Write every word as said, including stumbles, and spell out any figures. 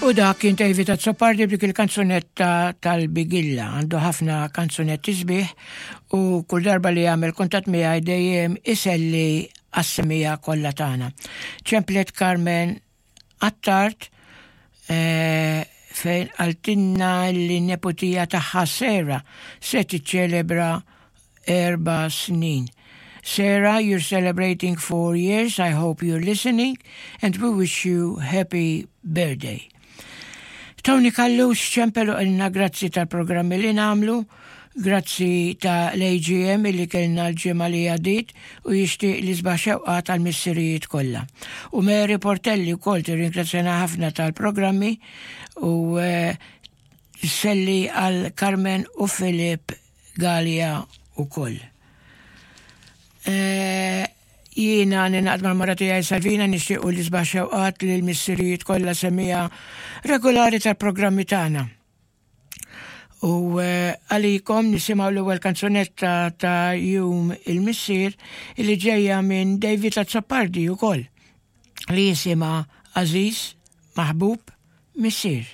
U dak kien David Azzopardi b'dik il-kanzunetta tal-Bigilla. Għandu ħafna kanzunetti sbieħ u kull darba li jagħmel kuntatt miegħi dejjem iselli għas-semmiegħa kollha tagħna. Ċemplet Carmen Attard eh, fejn qaltilna li neputija tagħha Sera se tiċċelebra erba' snin. Sarah, you're celebrating four years. I hope you're listening and we wish you happy birthday. Tony Callus ċempel u qalilna grazzi tal-programmi li nagħmlu, grazzi ta' l-AGM li kellna l-ġimgħa li għaddiet u jixtieq l-isbaħ xewqa tal-missirijiet kollha. U Mary Portelli wkoll tirringrazzjana ħafna tal-programmi u eh, sselli għal Carmen u Filip Gallia ukoll. Eh, Jiena ningħaqad mal-mara tiegħi Salvina nixtiequ l-isbaħ xewqat lil missirijiet kollha semmiegħa regolari tal-programmi tagħna. U eh, għalikom nisimgħu l-ewwel kanzunetta ta' Jum il-Missier li ġejja minn David Azzopardi wkoll li jisimha Għażiż Maħbub Missier.